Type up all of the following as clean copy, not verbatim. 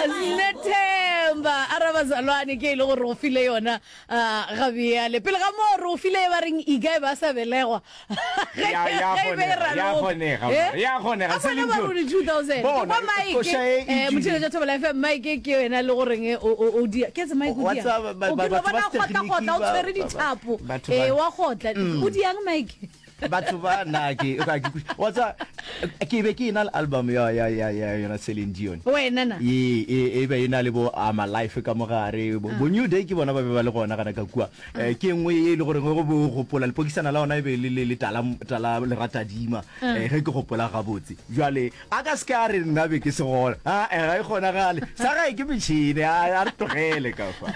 Snethemba a ra bazalwane ke e le gore go file yona ah, ga bjale pele ga moo re o file e ba reng ika e ba sa belegwa Ge- Ya- ya ge e be e kgonega, ya raloka. kgonega, Eh? mara, ya kgonega, A bona Celine ba Dion. ruri 2000 Ke Bona, kwa Mike, koša e e eh, tšwile. motheeletša Thobela FM Mike ke yena le goreng o o o dia ke tse Mike o Wa diang tseba, ba- o ba- ke no batho ba bona a setekginiki kgotla-kgotla o ba- tshwere ba- ba- dithapo batho eh ba- wa kgotla o diang Mike Batho ba na ke ka ke wa tsa ke be ke ena le album ya ya ya ya yona Celine Dion. Wena na? E e e be ena le bo I'm Alive ka mogare bo, bo New Day ke bona ba be ba le gona gana ka kua. Eh, ke nngwe e le gore go bo gopola lepokisana la ona e be le le le tala tala leratadima eh, ge ke gopola gabotse. Jwale a ka se ke a re nna be ke se gona. A eh, ga e kgonagale. Sa gae ke metšhene a a re tlogele ka fa.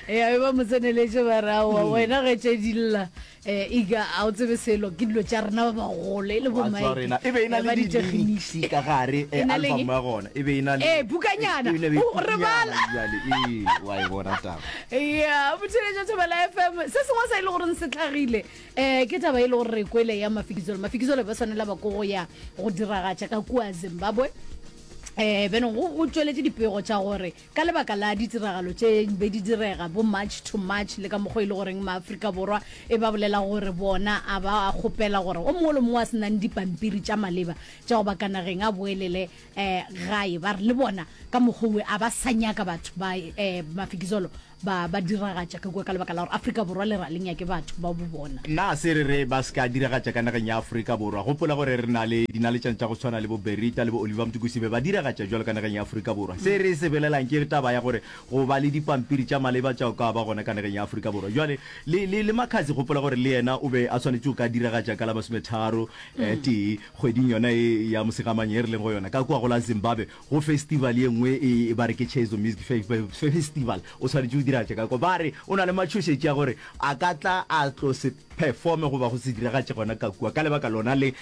Ya e ba mo tseneletše ba re aowa wena ge tše di lla um ika a o tsebe selo ke dilo tša rena ba bagolo e le bo Wa tseba Mike rena e be e na eh, le ba di-lyrics ditekginiki ka gare E eh, na le album eng? ya gona e be e na le Ee, bukanyana. e be e na le O, re bukanyana bala. bjale ee wa e bona taba ya botheletša thobela fm se sengwe sa e le goreng se tlhagile um ke taba e le gore re kwele ya mafikizolo mafikizolo ba swanela ba ko go ya go diragatša ka kua zimbabwe um benong go go tšweletše dipego tša gore Ka lebaka la ditiragalo tše be di direga bo March to March le ka mokgwa e le goreng maAfrika Borwa e ba bolela gore bona a ba kgopela gore o mongwe le mongwe a se nang dipampiri tša maleba tša go ba ka nageng a boelele um gae ba re le bona ka mokgwa owe a ba sa nyaka batho ba um Mafikizolo ba ba diragatša ka kua ka lebaka la gore Afrika Borwa le ra le nyake batho ba bo bona. Na se re re ba se ka diragatša ka nageng ya Afrika Borwa? Gopola gore re na le dinaletšana tša go tshwana le bo Berita le bo Oliver Mtukudzi be ba diragatša bjalo ka nageng ya Afrika Borwa. Se re se bolelang ke taba ya gore go ba le dipampiri tša maleba tša go ka ba gona ka nageng ya Afrika Borwa. Bjale le, le, le Makhadzi gopola gore le yena o be a swanetše go ka diragatša ka la masometharo tee kgweding yona ye ya Mosegamanye ye re leng go yona ka kua go la Zimbabwe. Go festival ye nngwe e ba re ke Chezo Music Festival, o swanetše go diragatša ka kwa. Ba re o na le matšhošetši a gore a ka tla a tlo se performe goba go se diragatše gona ka kua ka lebaka lona le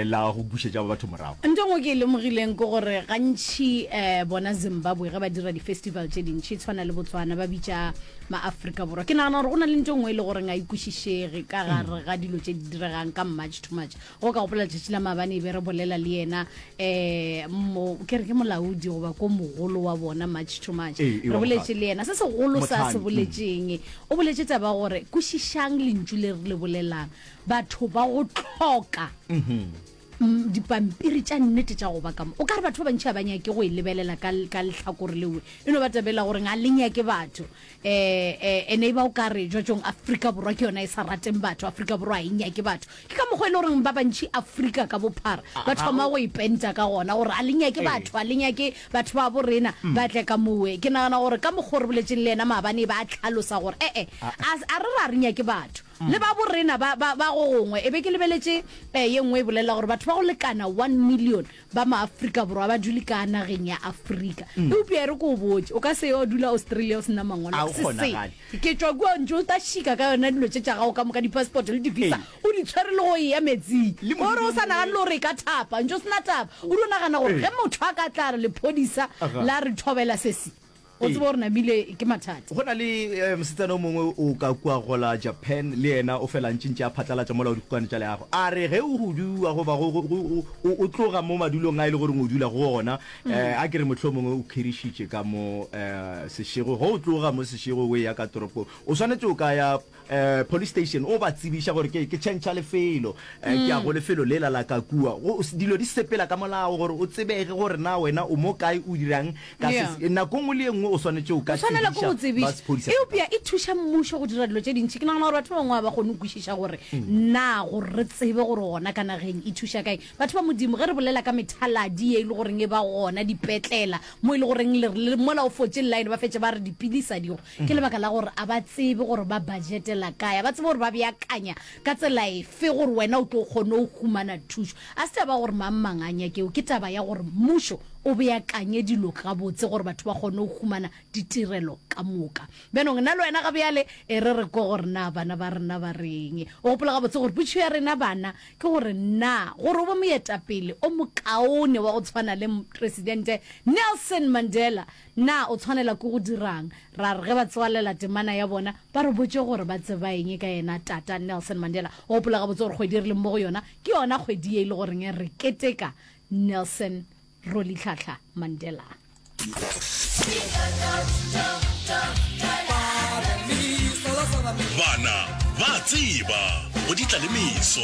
la go bušetša batho morago. Nto e nngwe ke e lemogileng ke gore gantši bona Zimbabwe ge ba dira di-festival tše dintši, e tshwana le Botswana, ba bitša ma-Afrika Borwa. Ke nagana gore go na le nto e nngwe e le goreng ga e kwešišege ka gare ga dilo tše di diregang ka March to March. Go ka gopola letšatši la maabane e be re bolela le yena um mo ke re ke molaodi goba ko mogolo wa bona March to March. Ee, ee, Re wa boletše mokgatlo. le yena se segolo sa se Motlhami, mm. boletšeng. O boletše taba ya gore kwešišang lentšu le re le bolelang. Batho ba go hloka mm, dipampiri tša nnete tša go ba ka mo. O ka re batho ba bantši ga ba nyake go e lebelela ka, ka lehlakore lewe. E no ba tabela gore ga le nyake batho. Eh, eh, ene e ba o ka re jwatšong Afrika Borwa ke yona e sa rateng batho, Afrika Borwa ga e nyake batho. Ke ka mokgwa e le goreng ba bantši Afrika ka bophara ba thoma go ipenta ka gona gore a le nyake batho, a le nyake batho ba bo rena ba tle ka mowe. Ke nagana gore ka mokgwa o re boletšeng le yena maabane e ba a tlhalosa gore e-e, a, a re ra re nyake batho le ba bo rena ba, ba, ba go gongwe. E be ke lebeletše eh, ye nngwe e bolela gore batho ba go lekana one million ba maAfrika Borwa ba dule ka nageng ya Afrika. Eupša e re ke o botše, o ka se yo dula Australia o se na mangwalo. A o Se se. kgonagale. Ke tšwa kua ntše o ta šika ka yona dilo tše tša gago ka moka, di-passport le di-visa, o di tshwere le go eya metsing. Le Gore o sa modimo nagane le gore e ka thapa, ntše o se na taba. O dio nagana gore ge motho a ka tla re lephodisa la re thobela se se, o tsebe gore namile ke mathata. Go na le mosetsana o mongwe o ka kua go la Japan, le yena o fela ntše ntše a phatlalatša mola o dikgokwane tša leago. A re ge o huduwa goba go, go, go, o, o tloga mo madulong a e le goreng o dula go ona, eh, a ke re mohlomongwe o khirišitše ka mo eh, sešego, ge o tloga mo sešego o eya ka toropong, o swanetše o ka ya eh, police station o ba tsebiša gore ke, ke tšhentšha lefelo, eh, ke ya go lefelo lela la ka kua. Go, dilo di sepela ka molao gore o tsebege gore na wena o mo kae o dirang ka se, Yeah. nako nngwe le ye nngwe o swanetše o ka O swanela ke go tsebiša ba tsebiša. sephodisa sa Eupša e thuša mmušo go dira dilo tše dintši. Ke nagana gore batho ba bangwe ga ba kgone go kwešiša gore na gore re tsebe gore gona ka nageng e thuša kae. Batho ba Modimo, ge re bolela ka methaladi ye e le goreng e ba gona dipetlela, mo e le goreng le re le mola o fotše line ba fetše ba re dipilisi a digo, ke lebaka la gore a ba tsebe gore ba budgetela kae, a ba tsebe gore ba beakanya ka tsela efe gore wena o tlo kgone go humana thušo. A se taba ya gore mang mang a nyakeo, ke taba ya gore mmušo o beakanye dilo gabotse gore batho ba kgone go humana ditirelo ka moka. Bjanong nna le wena ga bjale e re re kwe gore na bana ba rena ba reng. O gopola gabotse gore potšišo ya rena bana ke gore na gore o be moetapele o mokaone wa go tshwana le Mopresidente Nelson Mandela, na o tshwanela ke go dira'ng? Ra re ge ba tswalela temana ya bona ba re botše gore ba tseba eng ka yena Tata Nelson Mandela. O gopola gabotse gore kgwedi e re leng mo go yona ke yona kgwedi ye e le goreng re keteka Nelson Rolihlahla Mandela. Bana ba a tseba go di tla le meso.